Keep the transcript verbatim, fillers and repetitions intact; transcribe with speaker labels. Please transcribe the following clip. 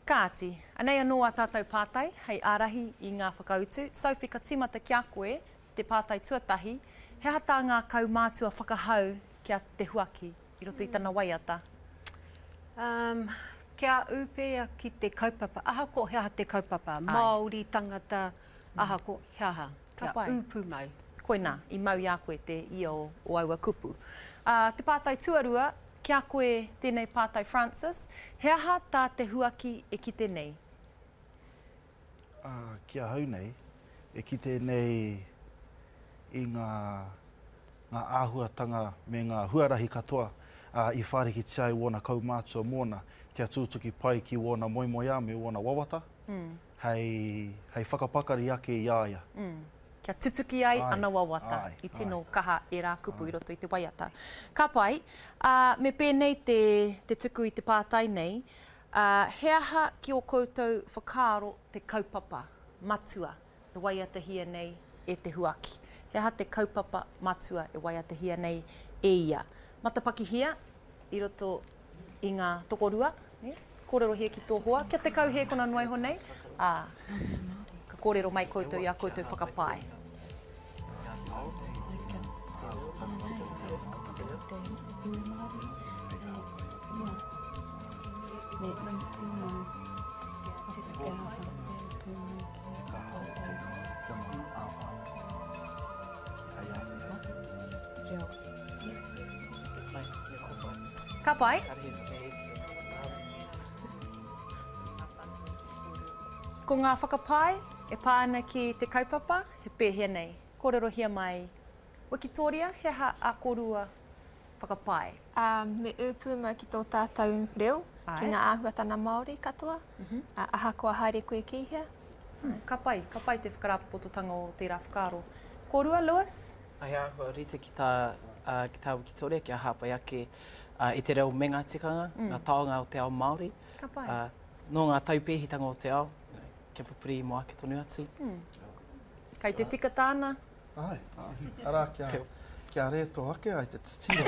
Speaker 1: Kāti, anei anō ā tātou pātai hei ārahi i ngā whakautu. Sophie, ka tīmata ki a koe te pātai tuatahi. He aha tā ngā kaumātua whakahau ki a Te Huaki i roto i tana waiata?
Speaker 2: Um, kia ū pea ki te kaupapa, ahakoa he aha te kaupapa, Māori, tangata, ahakoa he aha,
Speaker 1: Ka
Speaker 2: kia
Speaker 1: pai.
Speaker 2: ū pūmau.
Speaker 1: Koinā, i mau i a koe te ia o, o aua kupu. Uh, te pātai tuarua, ki a koe tēnei pātai Francis, he aha tā Te Huaki e kite nei?
Speaker 3: Ā, ki ahau nei, e kite nei i ngā, ngā āhuatanga me ngā huarahi katoa ā, i whārikitia ai wōna kaumātua mōna kia tūtuki pai ki wōna moemoeā me wōna wawata, mm. hei, hei whakapakari ake i a ia.
Speaker 1: Mm. Kia tutuki ai
Speaker 3: Āe,
Speaker 1: ana wawata.
Speaker 3: āe,
Speaker 1: I tino
Speaker 3: āe.
Speaker 1: kaha ērā kupu i roto i te waiata. Ka pai, ā, me pēnei te, te tuku i te pātai nei, ā, he aha ki ō koutou whakaaro te kaupapa matua e waiatahia nei e Te Huaki? He aha te kaupapa matua e waiatahia nei e ia? Matapakihia i roto i ngā tokorua, nē? Kōrerohia ki tō hoa, kia tekau hēkona noa iho nei, ā, ka kōrero mai koutou i ā koutou whakapae. Ka pai. Ko ngā whakapae e pā ana ki te kaupapa, he pēhea nei? Kōrerohia mai. Wikitoria, he aha ā kōrua whakapae?
Speaker 4: Ā, me ū pūmau ki tō tātou reo,
Speaker 1: Āe.
Speaker 4: ki ngā āhuatana Māori katoa, ā, ahakoa haere koe ki hea.
Speaker 1: Ka pai, ka pai te whakarāpopototanga o tērā whakaaro. Kōrua, Lewis?
Speaker 5: He āhua rite ki tā, ki tā Wikitoria kia hāpai ake i te reo me ngā tikanga, ngā taonga o te ao Māori.
Speaker 1: Ka pai.
Speaker 5: Nō ngā taupēhitanga o te ao, kia pupuri mō ake tonu atu.
Speaker 1: Kei te tika tāna?
Speaker 3: Āe, āe. Arā, kia, kia rētō ake ai te titiro.